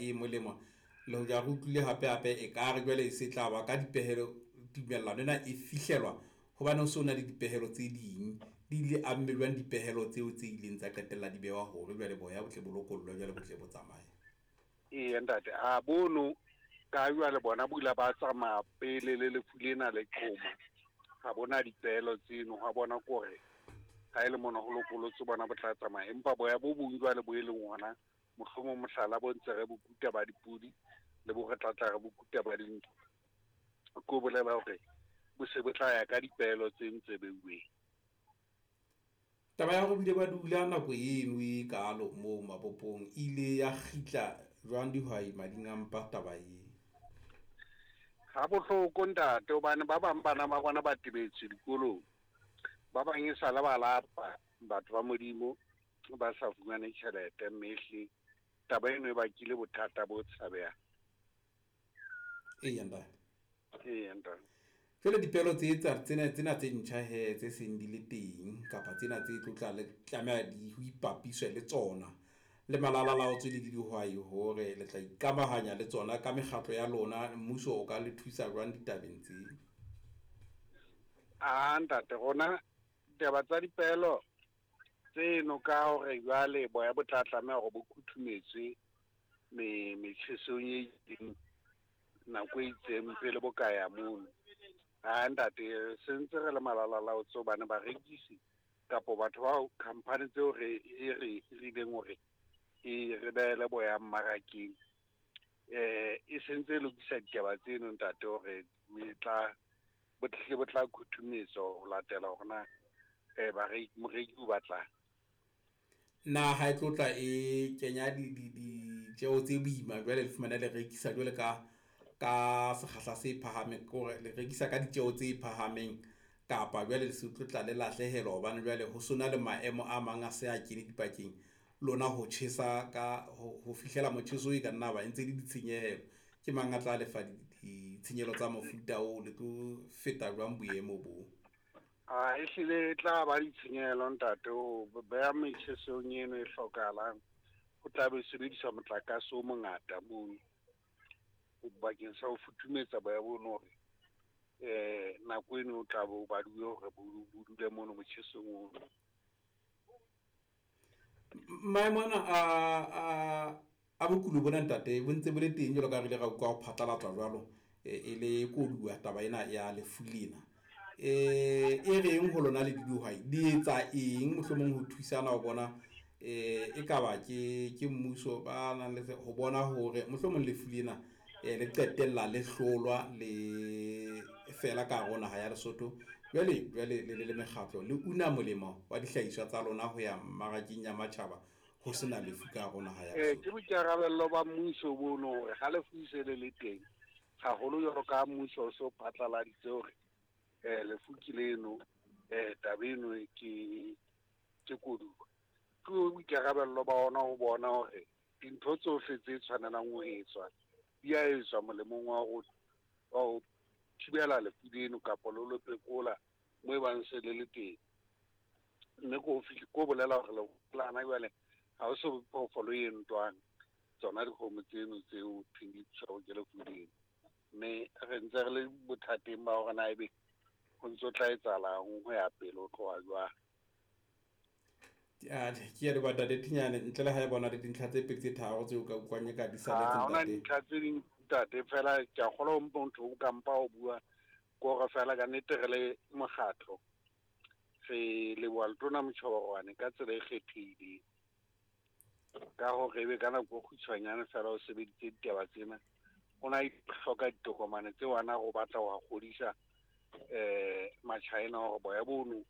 e molemo. Le hoja re utlwile hape-hape ekare jwale e se tla ba ka dipehelo, tumellano ena e fihlelwa hobane ho so na le dipehelo tse ding. Di ile amme jwang dipehelo tseo tse ileng tsa qetella di bewa hore jwale boya bo tle bo lokollwe jwale bo tle bo tsamaye? Eya ntate, a bono ka jwale bona bo ile ba tsamaya pele le lefu lena le qhoma. Ha bona dipehelo tseno, ha bona kore ha e le mona ho lokolotswe bona bo tla tsamaya. Empa boya bo bong jwale bo e leng hona, mohlomong mohlala bo ntse re bo kuta ba dipudi le bo re tlatla re bo kuta ba dintho. Ko bolela hore bo se bo tla ya ka dipehelo tse ntse beuweng. Taba ya hore bile ba dula nako eno e kalo moo mabopong e ile ya kgitla jwang dihwai mading a mpa taba e? Ha bohloko ntate, hobane ba bang bana ba bona ba tebetswe dikolong, ba bang e sale ba lapa batho ba Modimo ba sa fumane tjhelete, mme ehlile taba eno e bakile bothata bo tshabehang. Eya ntate. Eya ntate. Jwale dipehelo tse tsa tsena tsena tse ntjha he tse seng di le teng kapa tsena tse tlo tla le tlameha di ho ipapiswe le tsona le malala laotswe le dihwai hore le tla ikamahanya le tsona ka mekgatlo ya lona, mmuso o ka le thusa jwang ditabeng tse? A ntate, rona taba tsa dipehelo tseno ka hore jwale boya bo tla tlameha hore bo kuthumetswe metjhesong e itseng nako e itseng pele bo ka ya mono. Ha ntate, se ntse re le malala laotswe hobane barekisi kapo batho bao company tseo re e re hirileng hore e re behele boya mmarakeng, e sentse e lokisa ditaba tseno ntate hore e tla bo tle bo tla khuthumetswa ho latela hore na bareki moreki o batlang. Na ha e tlo tla e kenya ditjeo tse boima jwale le fumane le rekisa jwale ka sekgahla se phahameng, ke hore le rekisa ka ditjeo tse phahameng kapa jwale le se tlo tla le lahlehelwa hobane jwale ho sona le maemo a mang a se a kene dipakeng, lona ho tjhesa ka ho fihlela motjheso e ka nna ba e ntse le ditshenyehelo. Ke mang a tla lefa ditshenyehelo tsa mofuta oo, le tlo feta jwang boemo bo? A ehlile e tla ba ditshenyehelo ntate, ho beha metjhesong eno e hlokahalang, ho tla be sebediswa motlakase o mongata mono bakeng sa ho futhumetsa boya bono hore nako eno o tla bo baduwe hore bo dule mono motjhesong ono. Maemo ana a bokulo bona ntate bo ntse bo le teng jwalo ka re ile ra utlwa ho phatlalatswa jwalo e le koduwa taba ena ya lefu lena. E reng ho lona le dihwai di etsa eng mohlomong ho thusana ho bona e kaba ke mmuso ba nang le ho bona hore mohlomong lefu lena le qetella le hlolwa le fela ka hare ho naha ya Lesotho. Jwale jwale le le mekgatlo le una molemo wa dihlahiswa tsa lona ho ya mmarakeng ya matjhaba ho sena lefu ka hare ho naha ya Lesotho. Ke boikarabello ba mmuso bono hore ha lefu se le le teng, haholo jwalo ka mmuso o so phatlaladitse hore lefu ke leno, taba eno ke koduwa. Ke boikarabello ba ona ho bona hore dintho tsohle tse tshwanelang ho etswa di a etswa molemong wa ho thibela lefu leno kapa lo phekola mo e bang se le le teng. Mme ko bolela hore lana jwale ha ho so phoofolo e ntwang tsona dikgomo tseno tseo thweng di tshwerwe ke lefu leno. Mme re ntse re le bothateng ba hore na ebe ho ntso tla etsahalang ho ya pele ho tloha jwang. Ke a leboha ntate Thinyane, ntle le ha e bona le dintlha tse pedi tse tharo tseo ka utlwang e ka di saletseng Ha hona ntate. dintlha tse ding ntate, fela ke a kgolwa ho motho o ka mpa o bua ko hore fela ka nnete re le mokgatlo re leboha Letona Motjhoborwane ka tsela e kgethehileng ka hore ebe ka nako e kgutshwanyane fela o sebeditse ditaba tsena. O na hloka ditokomane tseo ana o batla ho kgodisa Machina hore boya bono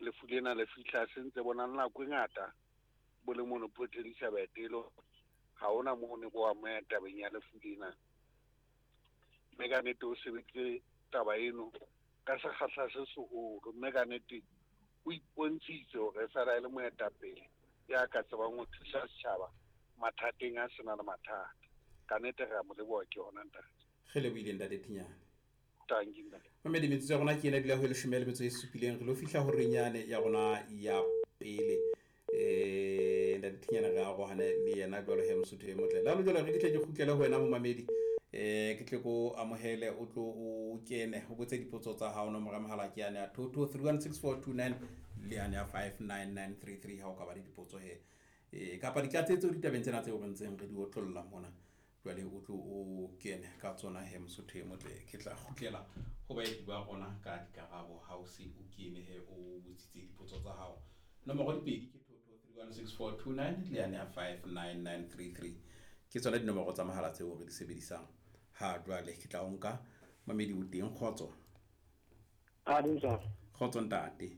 lefu lena le fihla se ntse bona nako e ngata bo le mono Port Elizabeth e le ha hona moo ne bo amoya tabeng ya lefu lena. Mme ka nnete o sebeditse taba eno ka sekgahla se seholo, mme ka nnete o ipontshitse hore fela e le moetapele ya ka tsebang ho thusa setjhaba mathateng a sena le mathata. Ka nnete re a mo leboha ke yona ntate. Re lebohile ntate Thinyane. Tanki ntate. Mamedi metsotso ya rona ke ena dula ho leshome le metso e supileng, re lo fihla horeng yane ya rona ya pele. Ntate Thinyane re arohane le yena jwalo he Mosotho e motle. Le jwalo re ke tle ke kgutlele ho wena momamedi, ke tle ko amohele o tlo o kene o botse dipotso tsa hao. Nomoro ya mohala ke yane ya 22316429 le yane ya 59933 ha o ka ba le dipotso he, kapa ditlatsetso ditabeng tsena tseo re ntseng re di otlolla mona. Jwale o tlo o kene ka tsona he Mosotho e motle. Ke tla kgutlela ho baeti ba rona ka dikarabo ha o se o kene he o botsitse dipotso tsa hao. Nomoro dipedi ke 22316429 le yane ya 59933, ke tsona dinomoro tsa mohala tseo re di sebedisang ha jwale. Ke tla o nka mamedi o teng. Kgotso. Kgotso ntate.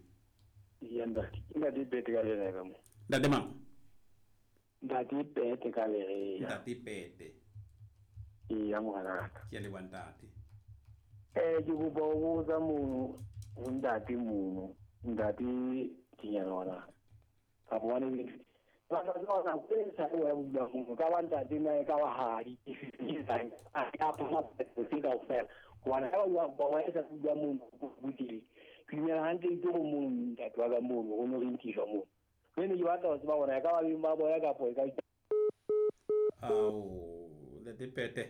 Ya ntate, ke Ntate Pete ka lere ka mo. Ntate mang? Ntate Pete ka lere. Ntate Pete. Eya ngwana. Ke a leboha ntate. Ke kopa ho botsa mono ho ntate mono, ntate Thinyane ngwana. Ka bona le ba ba tsona ko sa o ya bua mono ka ba ntate na ka ba ha di a ka pa se ka ofela. Ngwana ha ba ba wa sa bua mono go butile. Ke dumela hantle ke go mono ntate wa ka mono go no re nkiswa mono. Ke ne ke batla ho tseba hore ka ba beng ba boya kapo ka. Ao Ntate Pete,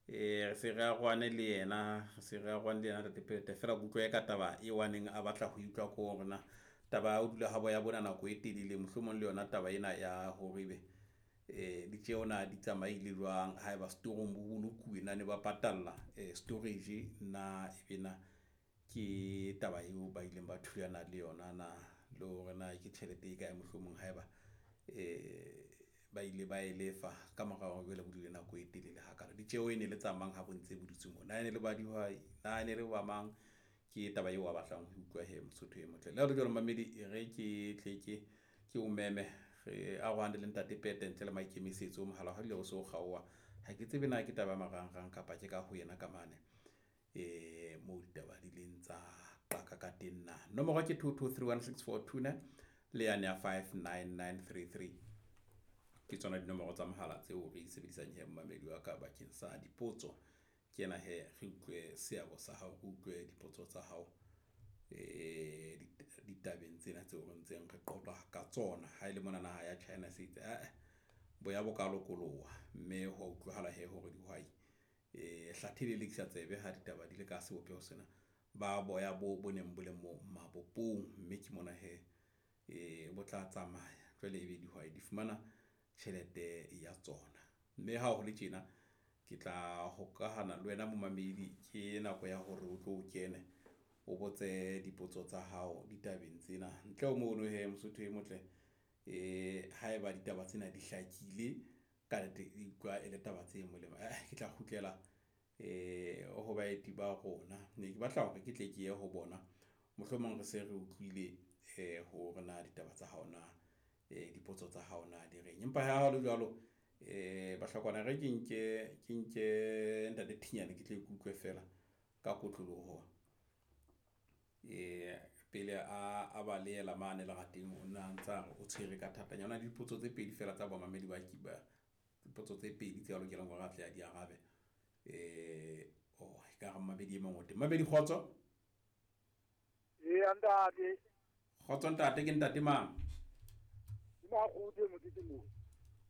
re se re arohane le yena, re se re arohane le yena Ntate Pete. Fela ke utlwa ka taba e waneng a batla ho utlwa ko hore na taba ya ho dula ha boya bona nako e telele, mohlomong le yona taba ena ya hore ebe ditjeo na di tsamaile jwang, haeba setorong bo bolokuwe na ne ba patalla storage na ebe na ke taba eo ba ileng ba thulana le yona na, le hore na ke tjhelete e kae mohlomong haeba ba ile ba e lefa ka mora hore jwale bo dule nako e telele hakalo. Ditjeo e ne le tsa mang ha bo ntse bo dutse moo, na e ne le ba dihwai, na e ne le ba mang, ke taba eo a batlang ho utlwa he Mosotho e motle. Le ha ho le jwalo mamedi, e re ke tle ke o meme re arohane le Ntate Pete ntle le maikemisetso. Mohala ha o se o kgaoha, ha ke tsebe na ke taba ya marangrang kapa ke ka ho yena ka mane moo ditaba di leng tsa qaka ka teng na. Nomoro ke 22316429 le yane ya 59933, ke tsona dinomoro tsa mohala tseo re di sebedisang he momamedi wa ka bakeng sa dipotso. Ke ena he re utlwe seabo sa hao, re utlwe dipotso tsa hao ditabeng tsena tseo re ntseng re qoqa ka tsona. Ha e le mona naha ya China se itse boya bo ka lokoloha, mme ho utlwahala he hore dihwai hlathe le lekisa tsebe ha ditaba di le ka sebopeho sena, ba boya bo bo neng bo le mo mabopong, mme ke mona he bo tla tsamaya jwale ebe dihwai di fumana tjhelete ya tsona. Mme ha ho le tjena ke tla hokahana le wena momamedi, ke nako ya hore o tlo kene o botse dipotso tsa hao ditabeng tsena. Ntle ho mono he Mosotho e motle, haeba ditaba tsena di hlakile ka nnete, e utlwa e le taba tse molemo, ke tla kgutlela ho baeti ba rona. Ne ke batla hore ke tle ke ye ho bona, mohlomong re se re utlwile hore na ditaba tsa hao na, dipotso tsa hao na di reng. Empa ha ho le jwalo, Bahlakwana re ke nke Ntate Thinyane ke tle ke utlwe fela ka kotloloho pele a ba leela mane lerateng. O na ntsa re o tshwere ka thatanyana, o na le dipotso tse pedi fela tsa bamamedi ba kiba, dipotso tse pedi tse a lokelang hore a tle a di arabe. Oh, ekare mamedi e mong o teng. Mamedi, kgotso. Eya ntate. Kgotso ntate, ke ntate mang? Ke Makgotho mokete mo.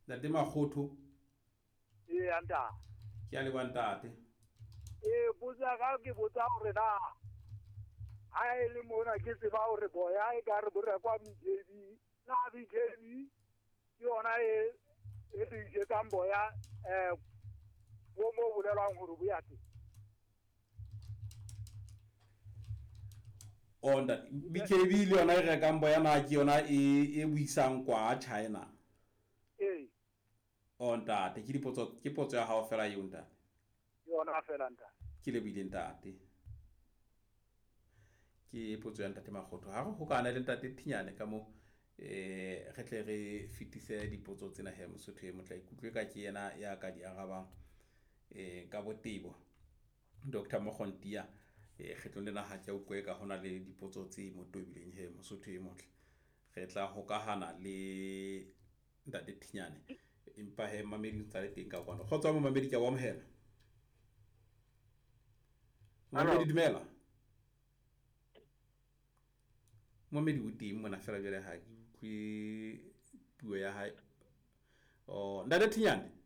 Ntate Makgotho. Eya ntate. Ke a leboha ntate. Botsa ka ke botsa hore na ha e le mona ke tseba hore boya e ka re bo rekwa BKB, na BKB ke yona e re isetsang boya bo mo bolelwang hore bo ya teng. Oh ntate, BKB le yona e rekang boya na ke yona e buisang kwa China? Ee. Oh ntate, ke dipotso, ke potso ya hao fela eo ntate. Ke yona fela ntate. Ke lebohile ntate. Ke potso ya Ntate Makgotho. Ha re hokana le Ntate Thinyane ka mo re tle re fetise dipotso tsena he Mosotho e motle, ikutlwe ka ke yena ya ka di arabang ka botebo. Dr. Mogontia, kgetlong lena ha ke a utlwe ka hona le dipotso tse mo tobileng he Mosotho e motle. Re tla hokahana le Ntate Thinyane, empa he mamedi o ntsa le teng ka kwano. Kgotso momamedi, ke a o amohela. Mamedi, dumela. Momedi o teng mona fela jwale ha ke utlwe puo ya hae. Oh, ntate Thinyane.